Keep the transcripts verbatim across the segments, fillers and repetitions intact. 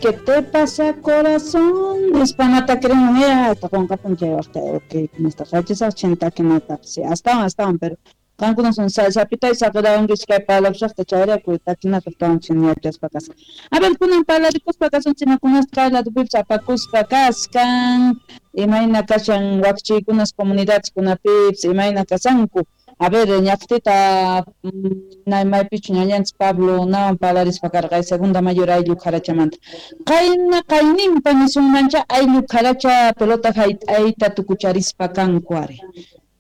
¿Qué te pasa, corazón? Nispa creen, ya, hasta con capunche, ok, nuestra fecha ochenta que no sí, hasta hasta pero qankunas sapita y saqirawankichik kay parlapusaqta chayrayku takinata tawanchik kasqa. A ver, kunan parlarikuspa kasunchik imakunasta kay ladopipas apakuspa kaskan, imayna kashan wakchiykunas comunidadkunapipas imayna kasanku. A ver, ñaqtita maypichu ñañanchik Pablo nawan parlarispa karqa segunda mayor ayllu Qarachamanta. Qayna qayninpa nisunmancha ayllu Qaracha pelota hayt'ayta tukucharispa kanku ari.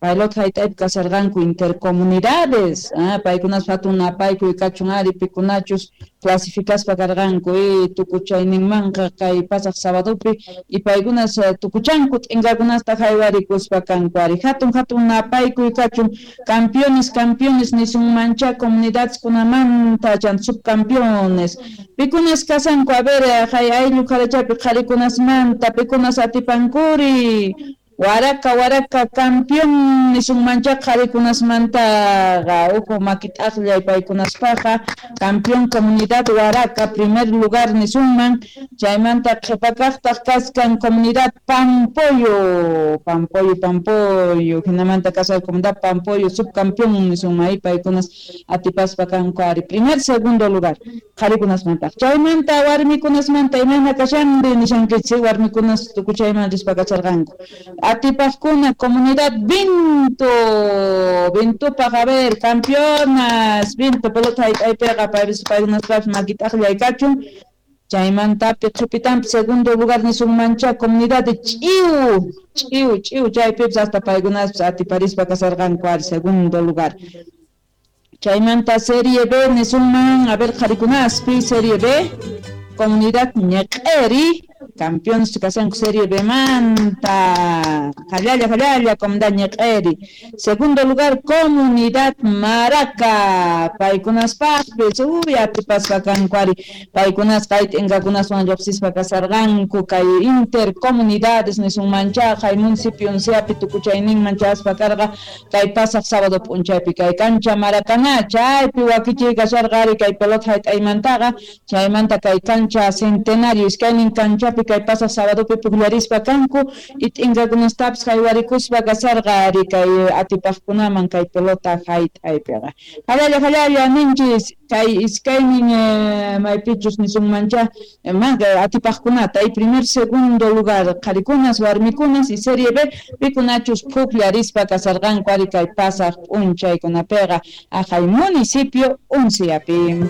Pelota hayt'aypi kasarqanku intercomunidades, ah, paykunas hatun napaykuy kachun ari pikunachus clasificaspa karqanku y tukuchayninmanqa kay pasaq sabadopi y paykunas tukuchanku t'inkakunasta haywarikuspa kanku ari hatun hatun napaykuy kachun campeones campeones nisunmancha comunidadeskunamanta chan subcampeones pikunas kasanku a ver hay ayllu Qarachapi qharikunasmanta pikunas atipankuri Waraka waraka campeón nisunmancha qharikunasmantaqa uhu makit'aqllay paykunaspaqa campeón comunidad Waraka primer lugar nisunman chaymanta qhipakaqtaq kaskan comunidad Pampoyo Pampoyo Pampoyo hinamanta kasal comunidad Pampoyo subcampeón nisunman ahí paykunas atipaspa kanku ari primer segundo lugar qharikunasmanta chaymanta warmikunasmanta imayna kashanri nishankichik warmikunas tukuchayman rispa kacharqanku. Atipaqkuna comunidad Vinto, Vintupaq, a ver, campeonas, Vinto pelota hayt'aypiqa paykunaspapis makit'aqllay kachun, chaymantapi qhipitanpi segundo lugar nisunmancha comunidad de Ch'iu, Ch'iu, Ch'iu, chaypipas hasta paykunaspis atiparispa kasarqanku ari segundo lugar. Chaymanta Serie B nisunman, a ver, qharikunaspi Serie B, comunidad Ñeq'eri, campeones kasanku Serie B manta, jallalla jallalla comunidad Ñeq'eri. Segundo lugar comunidad Maraca, paykunaspaqpis uy atipaspa kanku ari paykunas kay t'inkakunaswan lluqsispa kasarqanku kay intercomunidades nisunmancha kay municipio Unciapi tukuchayninman chaspa karqa kay pasaq sábado p'unchaypi kay cancha Maracaná chaypi wakichiy kasharqa ari kay pelota hayt'aymantaqa chaymanta kay cancha Centenario iskaynin canchapi kay pasaq sabadopi pukllarispa kanku y t'inkakunastapis haywarikuspa kasarqa ari kay atipaqkunaman kay pelota hayt'aypiqa. Jallalla jallalla ninchis kay iskaynin maypichus nisunmancha atipaqkunata y primer segundo lugar qharikunas warmikunas y Serie B pikunachus pukllarispa kasarqanku ari kay pasaq p'unchaykunapiqa aqhay municipio Unciapi.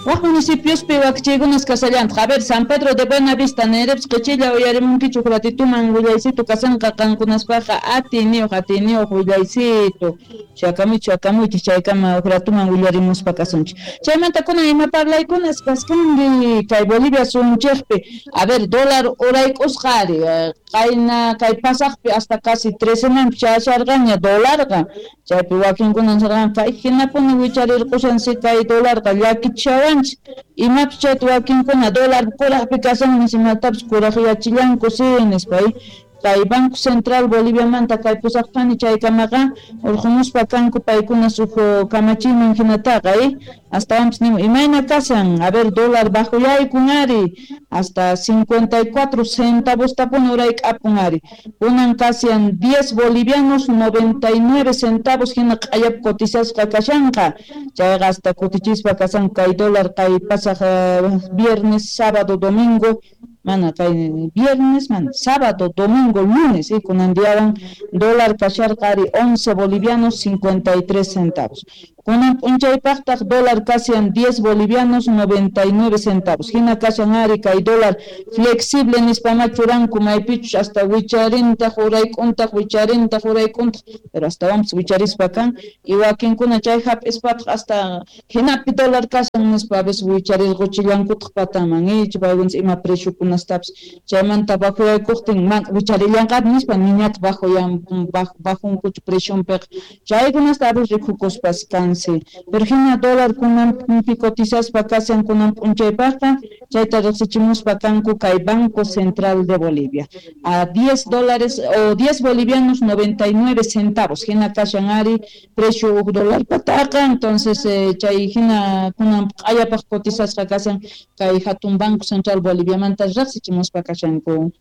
Wak municipiospi wakchiykunas kasallantaq. A ver, San Pedro de Buenavista, Nereps, Qichilla, uyarimunkichu ratituman willaysitu kasanqa qankunaspaqa atiniyuq atiniyuq willaysitu. Chakamuy chakamuy chaykama ratuman willarimuspa kasunchik. Chaymanta kunan ima parlaykunas kaskanri kay Bolivia sunchikpi. A ver, dólar urayk'usqa ari qayna kay pasaqpi hasta casi trece manpi chayasharqaña dólarqa. Chaypi wakinkunan nisharqanku kay hinapuni wicharirqushansi kay dólarqa llakichawanchik. Imapis chayta wakinkuna dólar kuraqpi kasan nisimatapas kuraqyachillanku si nispa kay Banco Central Boliviamanta kay pusaqpani chaykamaqa urqumuspa kanku paykuna huk kamachiyman hinataqa astawanpis nimu imayna kasan a ver dólar bajuyaykun ari hasta cincuenta y cuatro centavos tapun urayk'apun ari kunan kasian diez bolivianos noventa y nueve centavos hina q'ayap cotizasqa kashanqa chayqa hasta kutichispa kasan kay dólar kay pasaq viernes sábado domingo mana kay viernes mana sábado domingo lunes y kunan diawan dólar kasharqa ari once bolivianos cincuenta y tres centavos kunan p'unchaypaqtaq dólar kasian diez bolivianos noventa y nueve centavos hina kashan ari kay dólar flexible nispama churanku maypichus hasta wicharintaq urayk'untaq wicharintaq urayk'untaq pero hasta wampis wicharispa kan y wakinkuna chay hap'ispataq hasta hinapi dólar kashan nispa a veces wicharirquchillankutaq pataman icha paykunas ima preciukunastapis chaymanta bajuyaykuqtin man wicharillanqapi nispa niñataq bajuyan bajunkuchu presionpiqa chaykunasta a ver rikukuspas kansi pero hina dólar kunanpi cotizaspa kashan kunan p'unchaypaqqa chayta riqsichimuspa kanku kay Banco Central de Bolivia a diez dólares o diez bolivianos noventa y nueve centavos hina kashan ari precio huk dólar pataqa entonces eh, chay hina kunan q'ayapaq cotizasqa kashan kay hatun Banco Central Boliviamanta riqsichimuspa kashanku.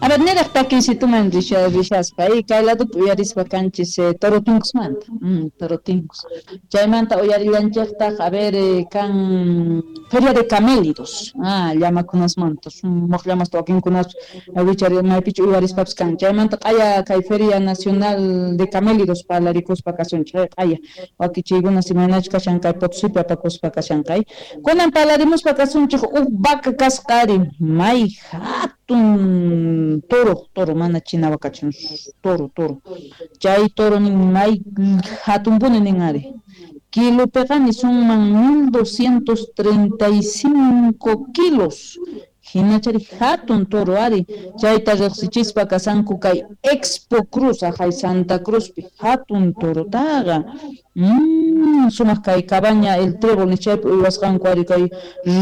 A ver, niraq takiysituman rishaspa y kay ladopi uyarispa kanchis eh, toro tinkusmanta, mm, toro tinkus. Chaymanta uyarillanchiktaq, a ver, eh, kan Feria de Camélidos, ah, llamakunasmanta, sumaq llamasta wakinkunas wichari maypichu uyarispapas kan. Chaymanta q'aya kay Feria Nacional de Camélidos parlarikuspa kasunchik, q'aya wakichiykunas imaynachu kashan kay Potosipi apakuspa kashan kay. Kunan parlarimuspa kasunchik huk vaca kasqa ari may hatun toro, toro, mana china wakachin, toro, toro. Chay toro nin may hatunpuni nin ari. Kilopiqa nisunman mil doscientos treinta y cinco kilos. Hinachari hatun toro ari. Chayta riqsichispa kasanku kay Expo Cruz, ajay Santa Cruzpi, hatun torotaqa. Mm, sumaq kay cabaña el trébol chaypi uywasqanku ari kay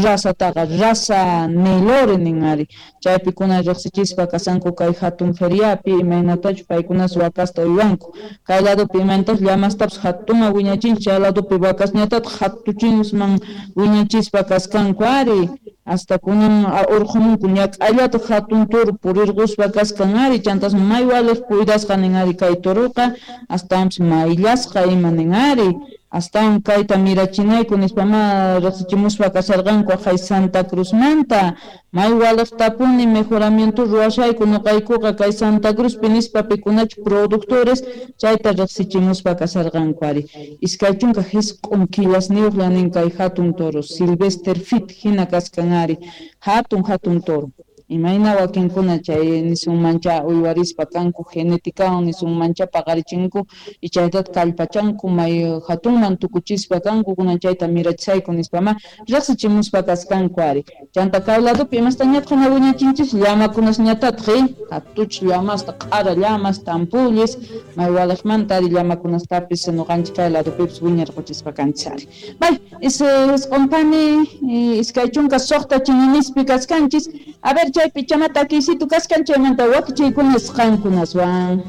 razataqa, raza Nelore nin ari. Chaypi kuna riqsichispa kasanku kay hatun feriapi imaynatachu paykunas wakasta uywanku. Kay ladopi imaynatachu llamastapas hatuma wiñachinchik, chay ladopi wakasñatataq hatuchinsman wiñachispa kaskanku ari. Hasta kunan urqumunku ñak'allata hatun toro purirquspa kaskan ari, chantas may waliq cuidasqa nin ari kay toroqa, astawanpis mayllasqa ima nin ari. Astawan kayta mirachinayku nispa ma riqsichimuspa kasharqanku ajay Santa Cruzmanta. May waliqtapuni mejoramiento ruwashayku nuqaykuqa kay Santa Cruzpi nispa pikunachu productores chayta riqsichimuspa kasharqanku ari. Iskay chunka hisq'un killasniyuqlla nin kay hatun toro Sylvester Fit hina kaskan ari, hatun hatun toro. Imayna wakinkuna chay nisunmancha uywarispa kanku genetikawan nisunmancha paqarichinku y chaytata kallpachanku may hatunman tukuchispa kanku kunan chayta mirachisayku nispa ma riqsichimuspa kaskanku ari. Chanta kay ladopi imastañataq wiñachinchis llamakunasñatataq hatuch llamasta q'ara llamas tampullis may waliqmanta ari llamakunastapis nuqanchik kay ladopipis wiñarquchispa kanchis ari. Bay isq'unpani iskay chunka suqta chininispi kaskanchis. A ver, chaypi chamata takiysitu kaskan chaymanta wakichiykunas qankunaswan.